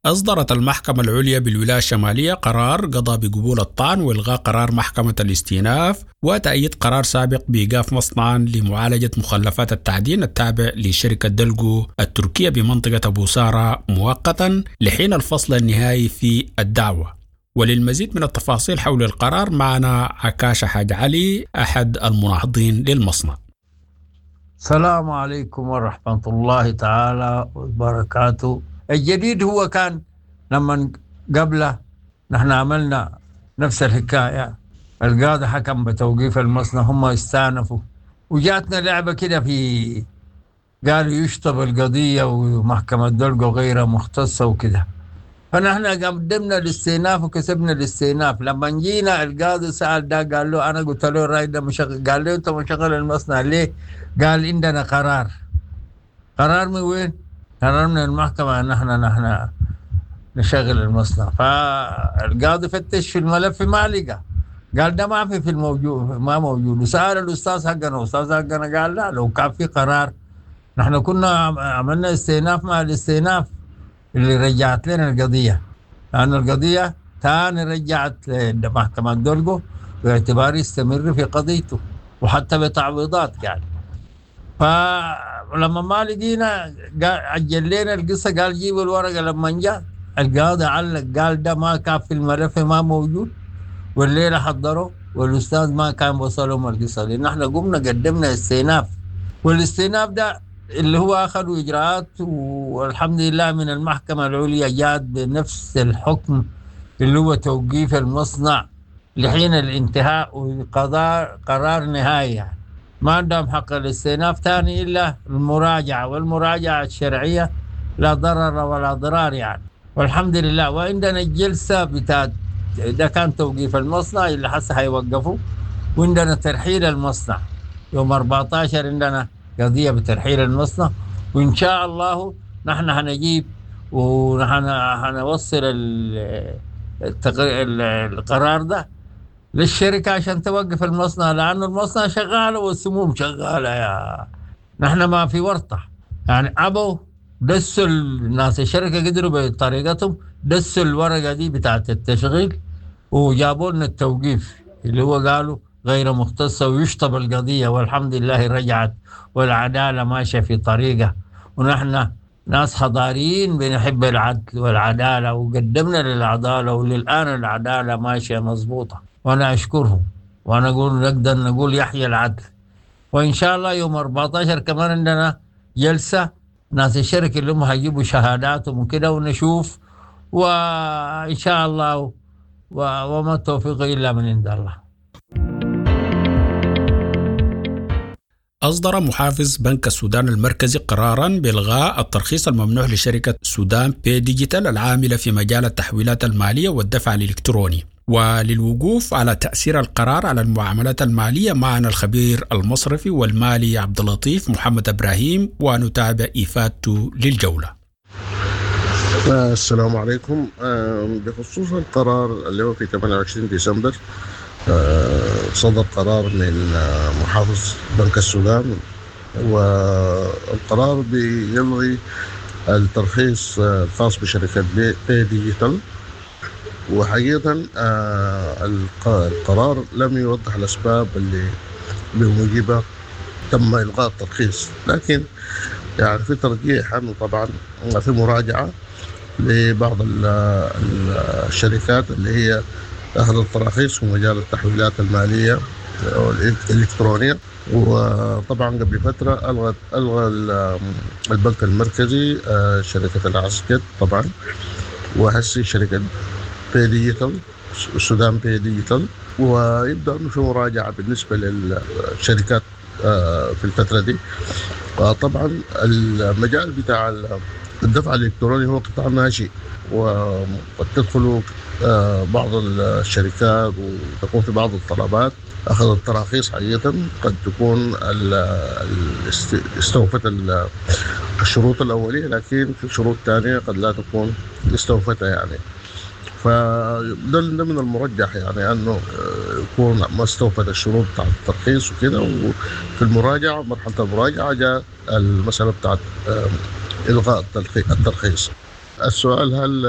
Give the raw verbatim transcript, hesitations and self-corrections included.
أصدرت المحكمة العليا بالولاية الشمالية قرار قضى بقبول الطعن وإلغاء قرار محكمة الاستئناف وتأييد قرار سابق بإيقاف مصنعا لمعالجة مخلفات التعدين التابع لشركة دلجو التركية بمنطقة أبو سارة مؤقتا لحين الفصل النهائي في الدعوة. وللمزيد من التفاصيل حول القرار معنا عكاشة حاج علي أحد المناهضين للمصنع. السلام عليكم ورحمة الله تعالى وبركاته. الجديد هو كان لما قبله نحن عملنا نفس الحكاية، القاضي حكم بتوقيف المصنع، هم استأنفوا وجاتنا لعبة كده في قالوا يشطب القضية ومحكمة دلقو غير مختصة وكده، فنحن قدمنا الاستئناف وكسبنا الاستئناف. لما جينا القاضي سأل ده، قال له أنا قلت له الراي ده مشغل، قال له أنت مشغل المصنع ليه؟ قال عندنا قرار. قرار من وين؟ قرار من المحكمة أن نحن نحن نشغل المصنع. فالقاضي فتش في الملف ما لقى، قال ده ما في في الموجود، ما موجود. وسأل الأستاذ حقنا، الأستاذ حقنا قال لا، لو كان في قرار نحن كنا عملنا استئناف مع الاستئناف اللي رجعت لنا القضية، لأن القضية تاني رجعت لمحكمة دولجو باعتبار يستمر في قضيته وحتى بتعويضات يعني. فلما ما لقينا عجل لنا القصة، قال جيبوا الورقة. لما جاء القاضي علق قال ده ما كان في الملف، ما موجود، والليلة حضروا والأستاذ ما كان وصلهم القصة، لأن احنا قمنا قدمنا استئناف، والاستئناف ده اللي هو أخذوا إجراءات، والحمد لله من المحكمة العليا جات بنفس الحكم اللي هو توقيف المصنع لحين الانتهاء وقضاء قرار نهائي يعني. ما عندهم حق الاستئناف ثاني إلا المراجعة، والمراجعة الشرعية لا ضرر ولا ضرار يعني، والحمد لله. وعندنا الجلسة بتاعت ده كان توقيف المصنع اللي حسه هيوقفوا، وعندنا ترحيل المصنع يوم أربعتاشر، عندنا قضية بترحيل المصنع، وإن شاء الله نحن هنجيب ونحن هنوصل القرار ده للشركة عشان توقف المصنع، لأنه المصنع شغال والسموم شغالة يا نحن ما في ورطة يعني. أبوا دسوا الناس الشركة قدروا بطريقتهم دسوا الورقة دي بتاعت التشغيل وجابوا لنا التوقيف اللي هو قالوا غير مختصة ويشطب القضية، والحمد لله رجعت والعدالة ماشية في طريقة، ونحن ناس حضاريين بنحب العدل والعدالة وقدمنا للعدالة، وللآن العدالة ماشية مظبوطة، وأنا أشكرهم وأنا أقول نقدر نقول يحيى العدل. وإن شاء الله يوم أربعتاشر كمان عندنا جلسة ناس الشركة اللي هم هيجيبوا شهاداتهم وكده ونشوف، وإن شاء الله وما التوفيق إلا من عند الله. أصدر محافظ بنك السودان المركزي قرارا بإلغاء الترخيص الممنوح لشركة سودان باي ديجيتال العاملة في مجال التحويلات المالية والدفع الإلكتروني. وللوقوف على تأثير القرار على المعاملات المالية معنا الخبير المصرفي والمالي عبد اللطيف محمد إبراهيم، ونتابع إفادته للجولة. السلام عليكم. بخصوص القرار اللي هو في ثمانية وعشرين ديسمبر، صدر قرار من محافظ بنك السودان، والقرار بيلغي الترخيص الخاص بشركة باي ديجيتال. وحقيقة القرار لم يوضح الأسباب اللي بموجبها تم إلغاء الترخيص، لكن يعني في ترجيح أنه طبعا في مراجعة لبعض الشركات اللي هي أخذت التراخيص في مجال التحويلات المالية والإلكترونية. وطبعا قبل فترة ألغى ألغى البنك المركزي شركة العسجد طبعا، وهسي شركة باي ديجيتال السودان باي ديجيتال، ويبدأ أنه في مراجعة بالنسبة للشركات في الفترة دي. طبعا المجال بتاع الدفع الإلكتروني هو قطاع ناشئ، وقد تدخل بعض الشركات وتكون في بعض الطلبات أخذت تراخيص حقيقة قد تكون استوفت الشروط الأولية، لكن في شروط ثانية قد لا تكون استوفتها يعني. فده من المرجح يعني أنه يكون ما استوفت الشروط بتاعت الترخيص وكده، وفي المراجعة مرحلة المراجعة جاء المسألة بتاعت إلغاء الترخيص. السؤال هل